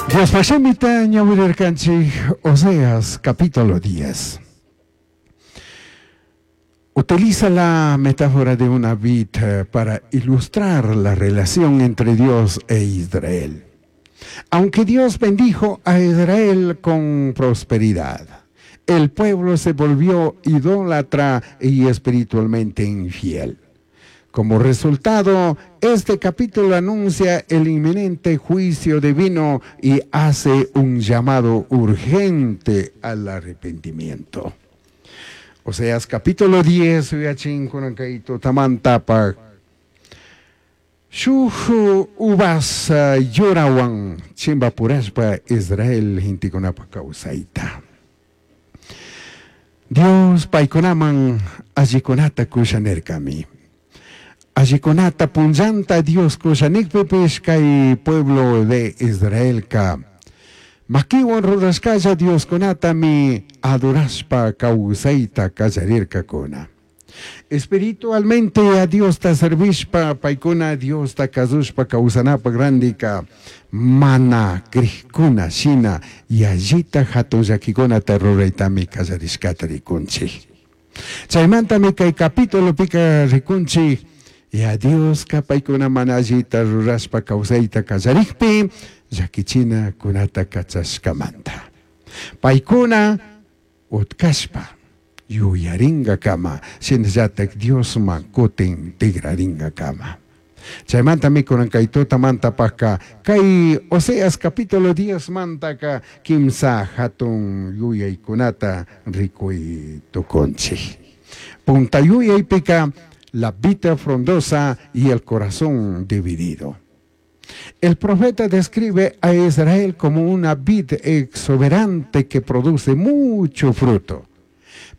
Diospaj shimita ñawirirkanchik Oseas capítulo 10. Utiliza la metáfora de una vid para ilustrar la relación entre Dios e Israel. Aunque Dios bendijo a Israel con prosperidad, el pueblo se volvió idólatra y espiritualmente infiel. Como resultado, este capítulo anuncia el inminente juicio divino y hace un llamado urgente al arrepentimiento. Oseas capítulo 10, yachin kunan kay tutamantapaj. Shuj uvas yurawan chimbapurashpa Israel gentekunapaj kawsayta. Dios paykunaman allikunata kusha nirkami. Allikunata punllanta Dios kusha nikpipish kay pueblo de Israelka makiwan rurashkalla Dioskunatami adorashpa kawsayta kallarirkakuna. Espiritualmente a Diosta servishpa paykuna Diosta kazushpa kawsanapaj randika mana crijkuna shina yallita hatun llakikunata ruraytami kallarishkata rikunchik. Chaymantami kay capitulopika rikunchik ya Dioska paykuna mana allita rurashpa kawsayta kallarikpi llakichina kunata kachashkamanta. Paykuna utkashpa yuyaringakama shinallatak Diosman kutin tigraringakama. Chaymantami kunan kay tutamantapajka kay Oseas capítulo 10 mantaka kimsa hatun yuyaykunata rikuy tukunchik. Punta yuyaypika la vid frondosa y el corazón dividido. El profeta describe a Israel como una vid exuberante que produce mucho fruto,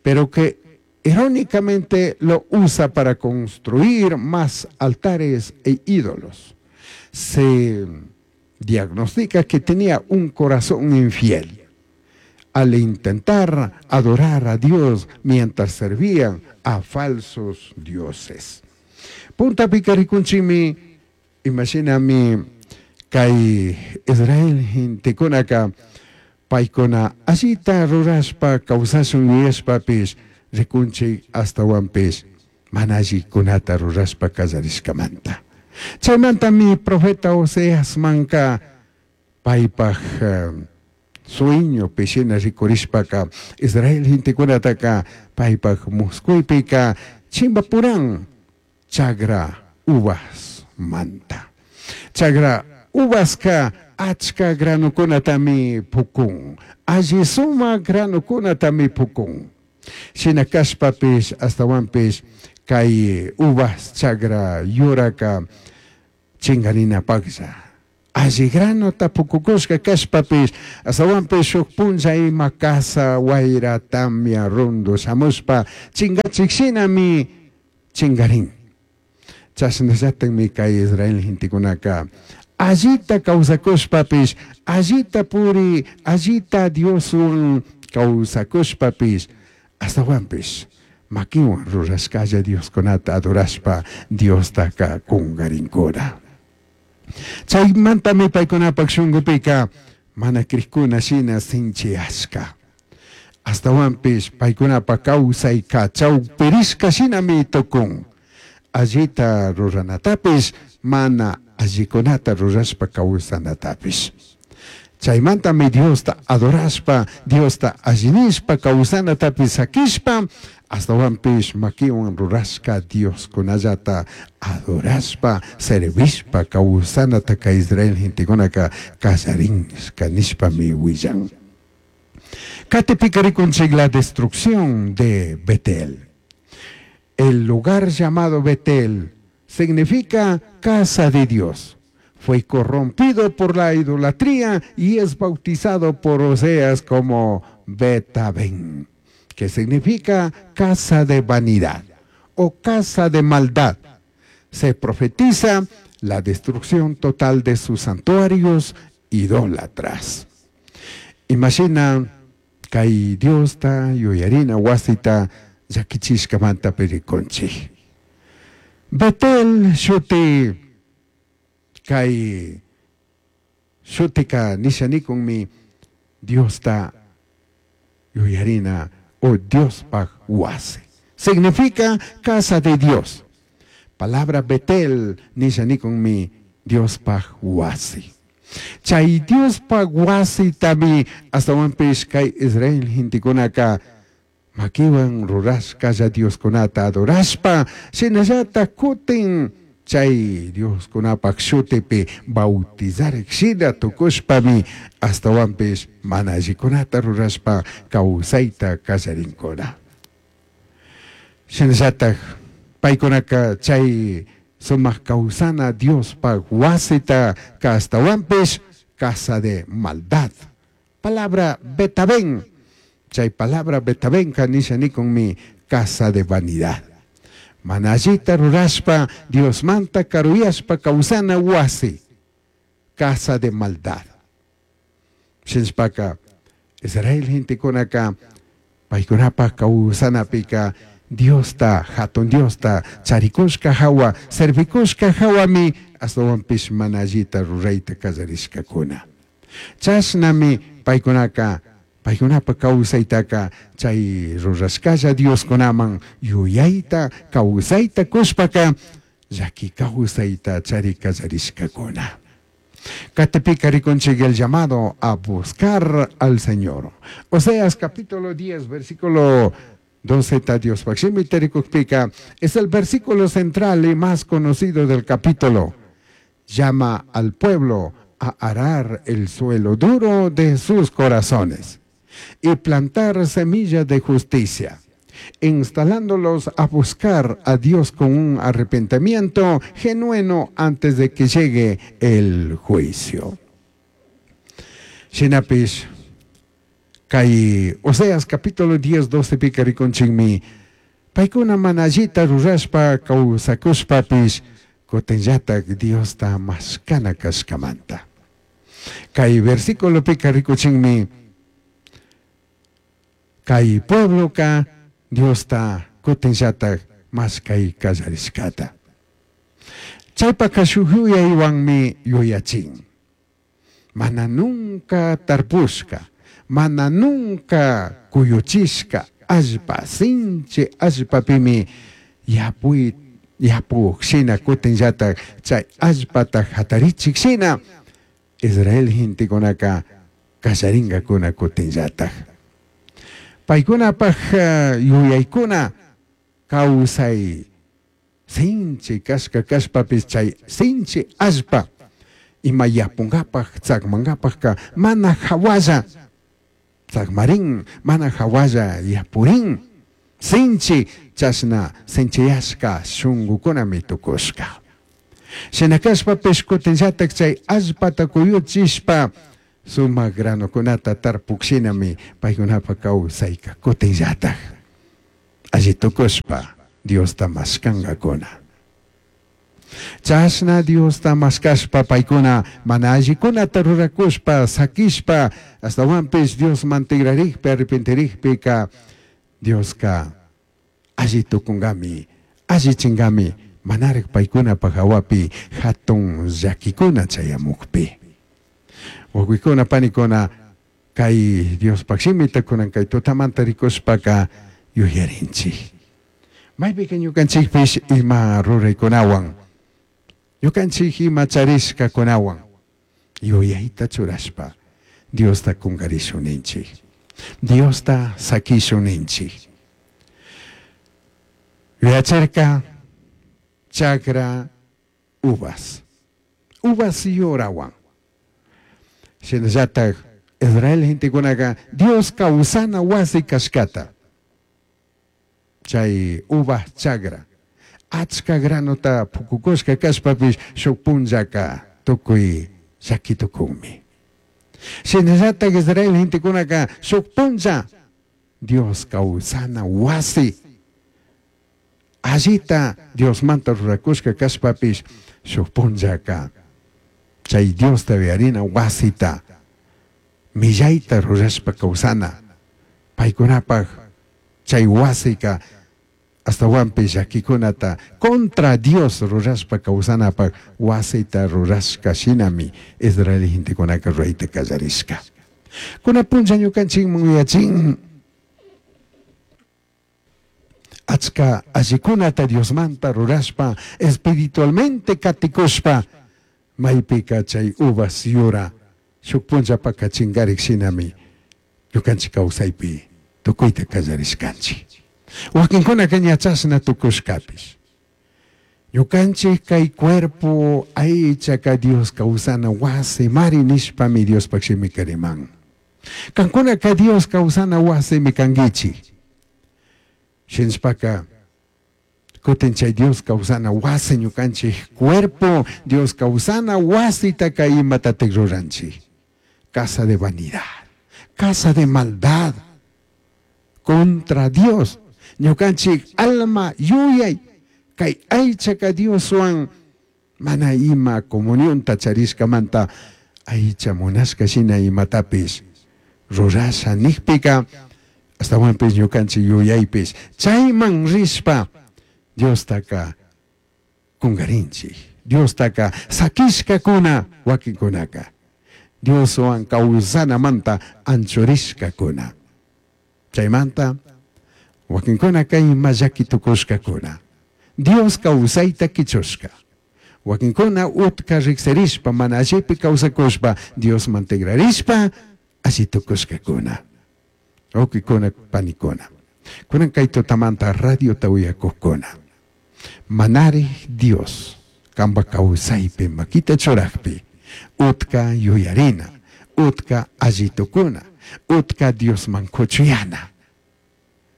pero que irónicamente lo usa para construir más altares e ídolos. Se diagnostica que tenía un corazón infiel al intentar adorar a Dios mientras servían a falsos dioses. Punta pica rikunchikmi, imashinami kay Israel gentekunaka paykuna allita rurashpa kawsashun yuyashpapish rikunchik ashtawanpish mana allikunata rurashpa kallarishkamanta. Chaymantami profeta Oseasmanka paypaj sueñopi shina rikurishpaka Israel gentekunataka paypaj muskuypika chimbapuran chagra uvas manta. Chagra uvaska achka granukunatami pukun. Alli sumak granukunatami pukun. Shina kashpapish ashtawanpish kay uvas chagra yuraka chingarinapaklla. Alli granota pukukushka kashpapish ashtawanpish shuk punlla ima kasa wayra tamia rundu shamushpa chingachik shinami chingarin. Chashnallatakmi kay Israel gentekunaka allita kawsakushpapish allita puri allita Dioswan kawsakushpapish ashtawanpish makiwan rurashkalla Dioskunata adorashpa Diostaka kungarinkuna. Chaymantami paykunapak shunkupika mana crikuna shina sinchiyashka. Ashtawanpish paykunapak kawsayka chawpirishka shinami tukun. Allita ruranatapish mana allikunata rurashpa kawsanatapish. Chaymantami Diosta adorashpa, Diosta allinishpa kawsanatapish sakishpa, ashtawanpish makiwan rurashka Dioskunallata adorashpa, servishpa kawsanata kay Israel gentekunaka kallarinshka nishpami willan. Katipika rikunchik la destrucción de Betel. El lugar llamado Betel significa casa de Dios. Fue corrompido por la idolatría y es bautizado por Oseas como Betaben, que significa casa de vanidad o casa de maldad. Se profetiza la destrucción total de sus santuarios idólatras. Imagina kay Diosta yuyarina wasita llakichishkamanta rikunchik. Betel shuti kay shuti. Shutika nisha nikunmi Diosta yuyarina o Diospaj wasi. Significa casa de Dios. Palabra Betel nisha nikunmi Diospaj wasi. Chay Diospaj wasitami astawanpish kay Israel gentekunaka makiwan rurashkalla Dioskunata adorashpa shinallata kutin chay Dioskunapaj shutipi bautizarik shina tukushpami astawanpish mana allikunata rurashpa kawsayta kallarinkuna. Shinallataj paykunaka chay sumaq kawsana Diospaj wasita astawanpish casa de maldad. Palabra Betabén. Chay palabra Betabenka nisha nikunmi casa de vanidad. Mana allita rurashpa Diosmanta karuyashpa kawsana wasi. Casa de maldad. Shinashpaka Israel gentekunaka paykunapaj kawsanapika Diosta, hatun Diosta charikushka hawa, servikushka hawami astawanpish mana allita rurayta kallarishkakuna. Chashnami paykunaka paykunapa kawsaytaka chay rurashkalla Dioskunaman yuyayta kawsayta kushpaka llaki kawsayta chari kallarishkakuna. Katipika rikunchik el llamado a buscar al Señor. Oseas capítulo 10, versículo 12, Diospaj shimita rikukpika, es el versículo central y más conocido del capítulo. Llama al pueblo a arar el suelo duro de sus corazones y plantar semillas de justicia, instalándolos a buscar a Dios con un arrepentimiento genuino antes de que llegue el juicio. Shinapish, kay Oseas capítulo 10, 12 pika rikunchikmi, paykuna mana allita rurashpa kawsakushpapish kutinllatak Diosta mashkana kashkamanta. Kay versículo pika rikuchinmi, kay puebloka Diosta kutinllatak mashkay kallarishkata. Chaypaka shuk yuyaywanmi yuyachin. Mana nunca tarpushka, mana nunca kuyuchishka allpa, sinchi allpapimi yapuy yapuk shina kutinllatak chay allpata hatarichik shina Israel gentekunaka kallarinkakuna kutinllatak. Paykunapaj yuyaykuna kawsay sinchi kashka kashpapis chay sinchi allpa ima yapunkapaj tsakmankapajka mana hawalla tsakmarin, mana hawalla yapurin, sinchi chashna sinchiyashka shunkukunami tukushka. Shina kashpapish kutinllatak chay allpata kuyuchishpa sumak granokunata tarpuk shinami paykunapa kawsayka kutinllatak alli tukushpa Diosta mashkankakuna. Chashna Diosta mashkashpa paykuna mana allikunata rurakushpa sakishpa astawanpish Diosman tigrarikpi arrepentirikpika Dioska alli tukunkami allichinkami manarik paykunapaj hawapi hatun llakikuna chayamukpi. Wawqikuna panikuna kay Diospaj shimita kunan kay tutamanta rikushpaka yuyarinchik. Maypika ñukanchikpish ima ruraykunawan, ñukanchik ima charishkakunawan yuyayta churashpa Diosta kunkarishun ninchik, Diosta sakishun ninchik. Yuyachirka chakra uvas, uvas yurawan. Shinallatak Israel gentekunaka Dios kawsana wasi kashkata. Chay uvas chagra achka granota pukukushka kashpapish shuk punllaka tukuy llaki tukunmi. Shinallatak Israel gentekunaka shuk punlla Dios kawsana wasi allita Diosmanta rurakushka kashpapish shuk punllaka chay Diosta uyarina wasita millayta rurashpa kawsana paykunapaj chay wasika Astawanpish llaquicunata contra Dios rurashpa causanapak wasita rurashca shinami Israel gentecunaca ruraita callarishca. Kuna punlla ñukanchikman yuyachin achka allikunata Diosmanta rurashpa espiritualmente katikushpa maypika chay uvas yura shuk punllapaka chingarik shinami ñukanchik kawsaypi tukuyta kallarishkanchik. Wakinkunaka ña chashna tukushkapish. Ñukanchik kay cuerpo aychaka Dios kawsana wasi mari nishpami Diospaj shimika riman. Kankunaka Dios kawsana wasimi kankichik. Shinashpaka kutin chay Dios kawsana wasi ñukanchik cuerpo Dios kawsana wasitaka imatatik ruranchik. Casa de vanidad, casa de maldad, contra Dios. Ñukanchik alma yuyay kay aychaka Dioswan mana ima comunionta charishkamanta aycha munashka shina imatapish rurasha nijpika astawanpish ñukanchik yuyaypish chayman rishpa Diostaka kungarinchik. Diostaka sakishkakuna wakinkunaka Dioswan kawsanamanta anchurishkakuna. Chaymanta wakinkunaka ima llaki tukushkakuna. Dios kawsayta kichushka. Wakinkuna utka riksirishpa mana allipi kawsakushpa Diosman tigrarishpa alli tukushkakuna. Wawkikuna panikuna. Kunan kay tutamanta radiota uyakukuna. Manari Dios kanpa kawsaypi makita churakpi utka yuyarina, utka alli tukuna, utka Diosman kuchuyana.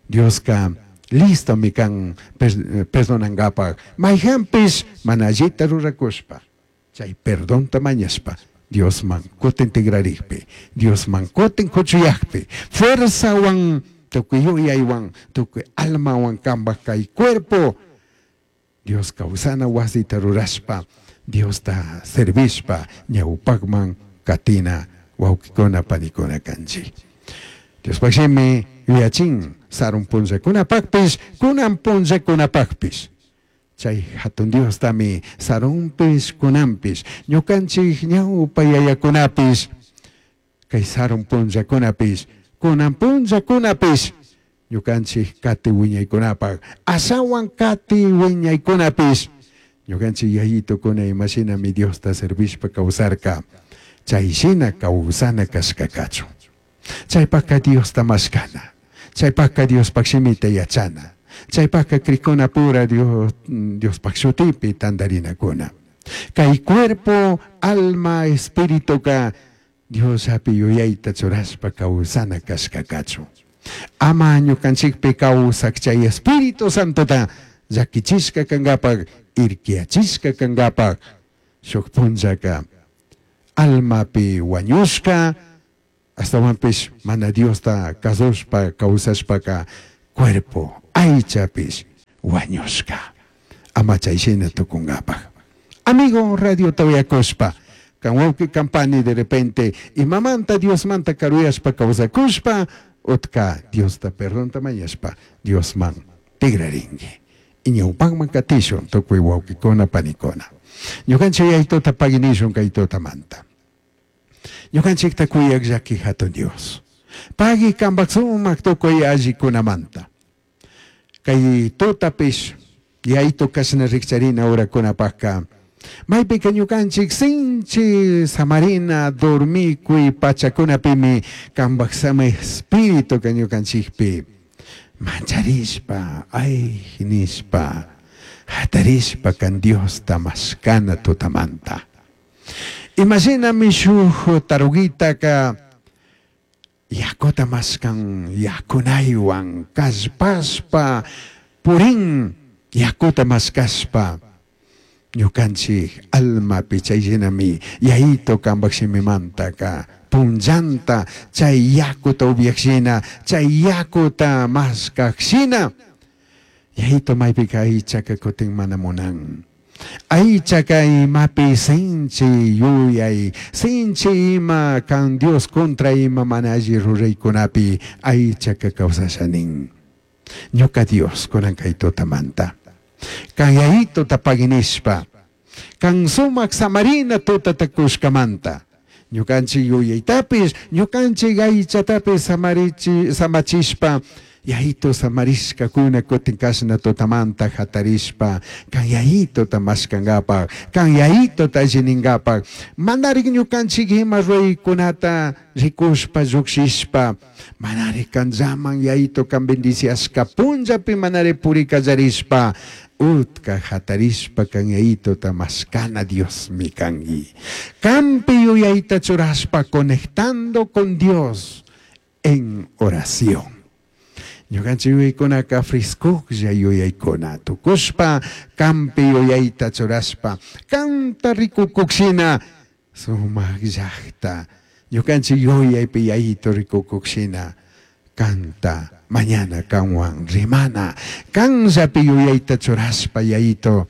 Dioska listomi kan perdonankapak mayjanpish mana allita rurakushpa chay perdonta mañashpa Diosman kutin tigrarikpi, Diosman kutin kuchuyakpi, fuerzawan tukuy yuyaywan, tukuy almawan kanpak kay cuerpo Dios kawsana wasita rurashpa, Diosta servishpa ñawpakman katina wawkikuna panikuna kanchik. Diospaj shimi yuyachin sarun punllakunapakpish, kunan punllakunapakpish. Chay hatun Diostami sarunpish kunanpish, ñukanchik ñawpa yayakunapish, kay sarun punllakunapish, kunan punllakunapish, ñukanchik kati wiñaykunapak, ashawan kati wiñaykunapish, ñukanchik yayitukuna imashinami Diosta servishpa kawsarka, chay shina kawsana kashkakachu. Chaypaka Diosta mashkana, chaypaka Diospaj shimita yachana, chaypaka krikuna pura Dios, Diospaj shutipi tantarinakuna. Kay cuerpo, alma, espirituka Diosllapi yuyayta churashpa kawsana kashkakachu. Ama ñukanchikpi kawsak chay Espíritu Santota llakichishka kankapak, irkiyachishka kankapak, shuk punllaka almapi wañushka, astawanpish mana Diosta kasushpa kawsashpaka cuerpo aychapish wañushka. Ama chay shina tukunkapak. Amigo radiota uyakushpa, kan wawqi kampani de repente imamanta Diosmanta karuyashpa kawsakushpa, utka Diosta perdonta mañashpa Diosman tigrarinki. Ñawpakman katishun tukuy wawqikuna panikuna. Ñukanchik yaytuta paginishun kay tutamanta. Ñukanchikta kuyak llaki hatun Dios. Pagui kanpak sumak tukuy allikunamanta. Kay tutapish yaytu kashna rikcharina urakunapakka maypika ñukanchik sinchi samarina dormikuy pachakunapimi kanpak sama espíritu ñukanchikpi mancharishpa ay nishpa hatarishpa kan Diosta mashkana tutamanta. Imashinami shuk tarugitaka yakuta mashkan yakunaywan kallpashpa purin yakuta mashkashpa ñukanchik almapi chay shinami yayito kanpak shimimantaka punllanta chay yakuta upyak shina chay yakuta mashkak shina yayito maypika aychaka kutin mana munan. Aychaka imapi sinchi yuyay, sinchi ima kan Dios contra ima mana alli ruraykunapi aychaka kawsasha nin. Ñuka Dios kunan kay tutamanta. Kan yayituta paginishpa, kan sumak samarina tutata kushkamanta. Ñukanchik yuyaytapish, ñukanchik aychatapish samarichi, samachishpa, yayito samarishkakuna kutin kashna tutamanta hatarishpa, kan yayituta mashkankapak, kan yayituta allininkapak, manarik ñukanchik ima ruraykunata rikushpa llukshishpa, manarik kanllaman yayito kan bendiciashka punllapi manari purikallarishpa, utka hatarishpa kan yayituta mashkana Diosmi kanki. Kampi yuyayta churashpa conectando con Dios en oración. Ñukanchik yuyaykunaka frescojlla yuyaykuna tukushpa kampi yuyayta churashpa kanta rikukukshina sumak llakta ñukanchik yuyaypi yayito rikukukshina kanta mañana kanwan rimana kanllapi yuyayta churashpa yayito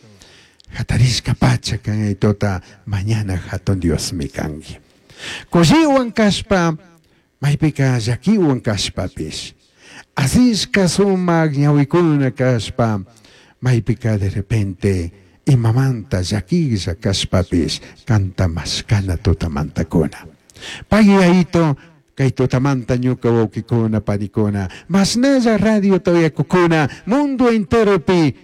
hatarishka pacha kan yayitota mañana hatun Diosmi kanki. Kushiwan kashpa maypika llakiwan kashpapish asishka sumak ñawikuna kashpa maypika de repente imamanta llakilla kashpapish kanta mashkana tutamantakuna. Pagui yayito kay tutamanta ñuka wawkikuna panikuna mashnalla radio uyakukuna mundo enteropi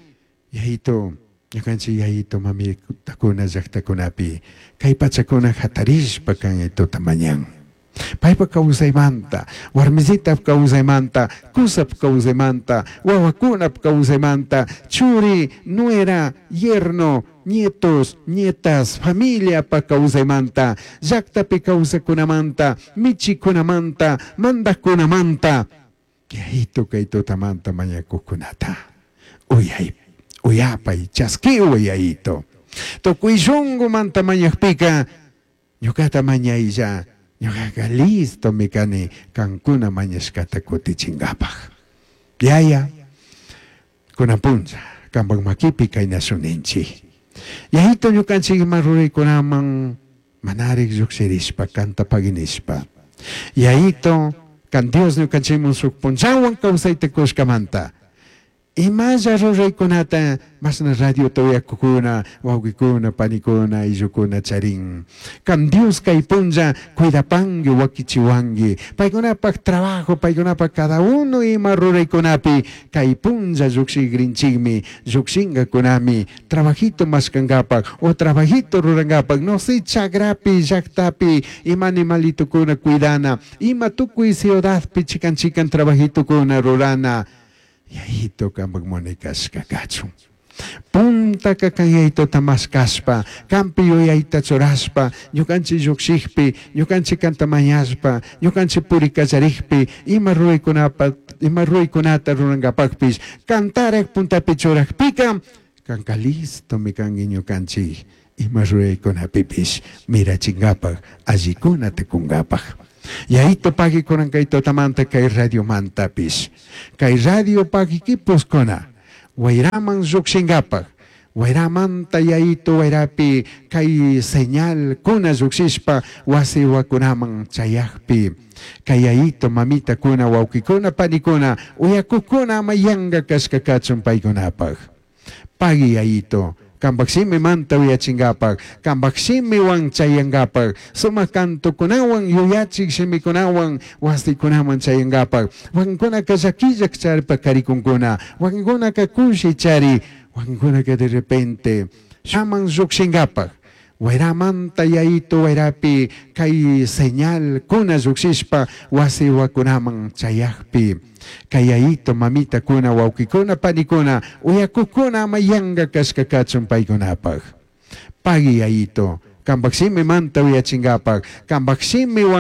yayito ñukanchik yayito mamitakuna llaktakunapi kay pachakuna hatarishpa kan yayituta mañan. Paypa kawsaymanta, warmisitap kawsaymanta, kusap kawsaymanta, wawakunap kawsaymanta, churi, nuera, yerno, nietos, nietas, familiapa kawsaymanta, llaktapi kawsakunamanta, michikunamanta, mandaqkunamanta, yayito kay tutamanta mañakuqkunata. Uyay, uyapay, chaskiway yayito. Tukuy shunqumanta mañaqpika, ñuqata mañaylla, ñuqaqa listo mi kani kankuna mañashkata kutichinkapak. Yaya, kunan punlla, kanpak makipi kay nacionninchik. Yayito ñukanchik ima ruraykunaman manarik llukshirishpa, kanta paginishpa. Yayito, kan Dios ñukanchikman shuk punllawan kawsayta kushkamanta. Imalla ruraykunata mashna radiota uyakukuna, wawqikuna, panikuna, ayllukuna charin. Kan Dios kay punlla cuidapanki, wakichiwanki. Paykunapak trabajo, paykunapak cada uno ima ruraykunapi kay punlla llukshikrinchikmi, llukshinkakunami, trabajito mashkankapak o trabajito rurankapak, no sé, chagrapi, llaktapi, ima animalitukuna cuidana, ima tukuy ciudadpi chikan chikan trabajitukuna rurana. Yayito kanpak munay kashka kachun. Puntaka kan yayitota mashkashpa, kampi yuyayta churashpa, ñukanchik llukshikpi, ñukanchik kanta mañashpa, ñukanchik purikallarikpi, ima ruraykunapa, ima ruraykunata rurankapakpish, kantarak puntapi churakpika, kanka listomi kanki ñukanchik ima ruraykunapipish mirachinkapak, allikunata kunkapak. Yayito pagui kunan kay tutamanta kay radiomantapish. Kay radio pagikipuskuna, wayraman llukshinkapak, wayramanta yayito wayrapi kay señal kuna llukshishpa wasiwakunaman chayakpi. Kay yayito mamitakuna, wawkikuna, panikuna, uyakukuna ama yanka kashka kachun paykunapak. Pagui yayito, kanpak shimimanta uyachinkapak, kanpak shimiwan chayankapak, sumak kantukunawan, yuyachik shimikunawan, wasikunaman chayankapak. Wakinkunaka llakillak charpa karikunkuna, wakinkunaka kushi chari, wakinkunaka de repente shaman llukshinkapak. Wayramanta yayito wayrapi kay señal kuna llukshishpa wasiwakunaman chayakpi. Kay yayito mamitakuna, wawkikuna, panikuna, uyakukuna ama yanka kashka kachun paykunapak. Pagui yayito, kanpak shimimanta uyachinkapak, kanpak shimiwan